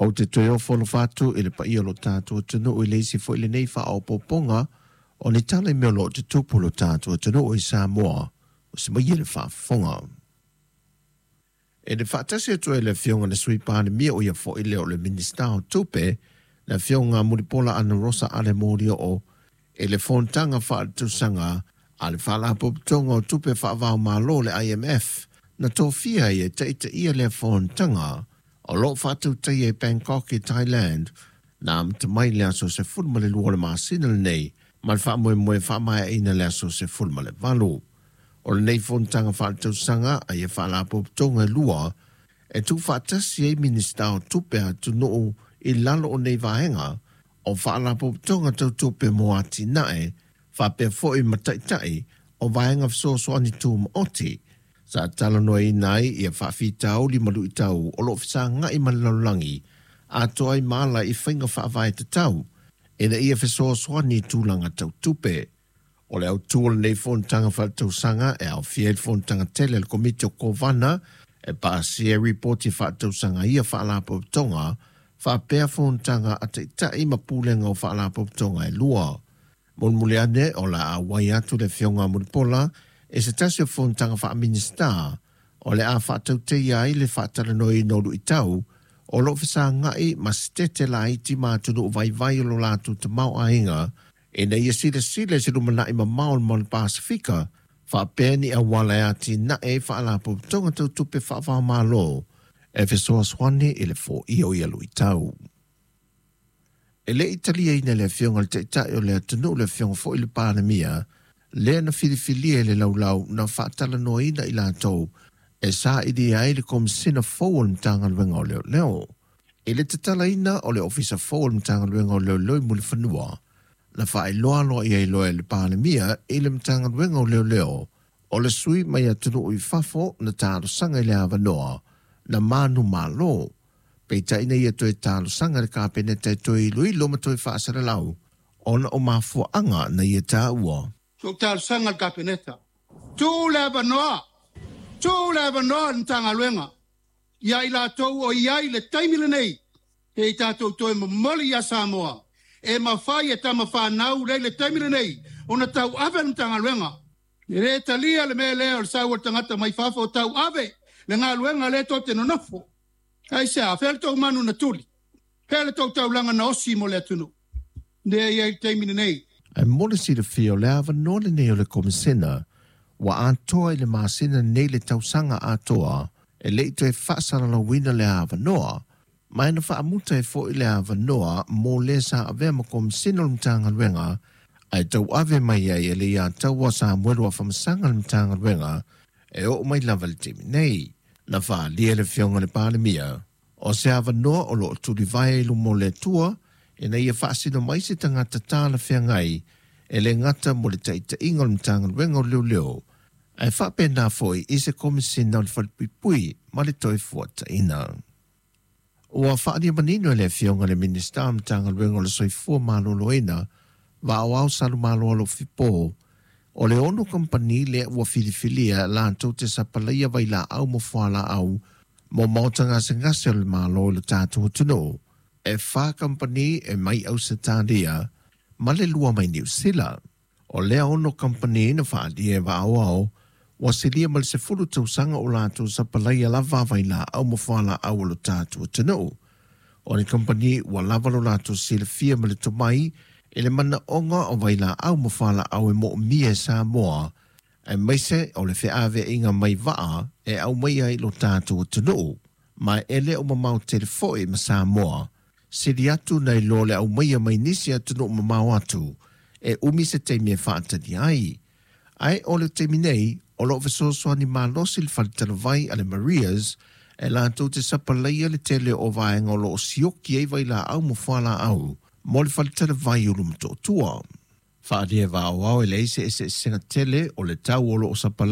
Ou te toe ofo alofa atu i le paia o lo tatou atunuu i le isi foi lenei faaopoopoga o ni tala i mea o lo o tutupu i lo tatou atunuu i Samoa, ua se maia le faafofoga. E le faatasi atu ai le Afioga i le Sui Palemia, o ia foi lea o le Minisita o Tupe, le Afioga Mulipola Anarosa Ale Molioo, i le fonotaga faaletausaga a le Faalapotopotoga o Tupe Faava-o-Malo, le IMF, na tofia ai e taitaia lea fonotaga o lo o faatautaia i Bangkok i Thailand, na amata mai le aso 12 o le masina lenei ma le faamoemoe faamaeaina le aso 18. O lenei fonotaga faaletausaga a ia faalapotopotoga e lua e tuufaatasi ai Minisita o Tupe a atunuu i lalo o nei vaega o faalapotopotoga tau tupe mo atinae faapea foi ma taitai o vaega fesoasoani tumaoti sa talanoaina ai ia faafitauli ma luitau o lo o fesagai ma le lalolagi atoa ai ma ala i faiga faavae tatau ina ia fesoasoani i tulaga tau tupe. O le autu o lenei fonotaga faaletausaga e aofia ai le fonotaga tele a le Komiti o Kovana e pasia ai ripoti faaletausaga a ia faalapotopotoga faapea fonotaga a taitai ma pulega o faalapotopotoga e lua. Mulimuli ane o le a auai atu le Afioga a Mulipola i se tasi o fonotaga faa-Minisita o le a faatautaia ai le faatalanoaina o luitau o lo o fesagai ma setete laiti ma atunuu vaivai o lo latou tamaoaiga ina ia silasila i se lumanai mamao mo le Pasefika faapea ni auala e atinae ai faalapotopotoga tau tupe faava-o-Malo e fesoasoani i le foia o ia luitau. E le i taliaina e le Afioga i le Taitai o le atunuu le Afioga foi i le Palemia lea na filifilia i le laulau na faatalanoaina i latou e sailia ai le Komesina fou o le Matagaluega o Leoleo. I le tatalaina o le Ofisa fou o le Matagaluega o Leoleo i Mulifanua, na faailoa aloaia ai loa e le Palemia i le Matagaluega o Leoleo o le sui mai atunuu i fafo na talosaga i le avanoa na manumalo. Peitai na ia toe talosaga i le Kapeneta e toe iloilo ma toe faasalalau ona o mafuaaga na ia taua. Ua ou talosaga i le Kapeneta, tuu le avanoa, tuu le avanoa i le Matagaluega ia i latou o i ai i le taimi lenei, se i tatou toe momoli ia Samoa e mafai e tama fanau lea i le taimi lenei ona tauave le Matagaluega. E le talia le mea lea o le sau o le tagata mai fafo tauave le galuega lea tou te nonofo. Aisea? Fea le tou manu na tuli? Fea le tou taulaga na osi mo le atunuu? Lea e i ai i le taimi lenei. Ae mo le silafia, o le avanoa lenei o le Komesina ua atoa i le masina nei le tausaga atoa e le i toe faasalalauina le avanoa, ma e na faamuta ai foi le avanoa mo le sa avea ma Komesina o le Matagaluega ae tauave mai ai e Leiataua Samuelu Afamasaga le Matagaluega e oo mai lava i le taimi nei. Na faaalia e le Afioga i le Palemia o se avanoa o lo o tulivae i luma o le Atua ina ia faasino mai se tagata talafeagai e le gata mo le taitaiga o le Matagaluega o Leoleo ae faapena foi i se Komesina o le Falepuipui ma le Toefuataiga. Ua faaalia manino e le Afioga i le Minisita o le Matagaluega o le Soifua Maloloina, Vaaoao Salumalo Alofipo, o le 6 kamupani lea ua filifilia latou te sapalaia vailaau ma fualaau mo maota gasegase o le Malo i lo tatou atunuu. E 4 kamupani e mai Ausetalia ma le 2 mai Niu Sila. O lea 6 kamupani na faaalia e Vaaoao ua silia ma le 10 tausaga o latou sapalaia lava vailaau ma fualaau o lo tatou atunuu. O ni kamupani ua lava lo latou silafia ma le tomai i le manaoga o vailaau ma fualaau e moomia e Samoa, aemaise o le feaveaiga mai vaa e aumaia i lo tatou atunuu, ma e le o mamao tele foi ma Samoa, sili atu nai lo le aumaia mai nisi atunuu mamao atu e umi se taimi e faatali ai. Ae o le taimi nei, o lo o fesoasoani malosi le faletalavai a le Marias e latou te sapalaia le tele o vaega o lo o sioki ai vailaau ma fualaau mo le faletalavai o Ulumotootua. Faaalia e Vaaoao e leai se eseesega tele o le tau o lo o sapalaia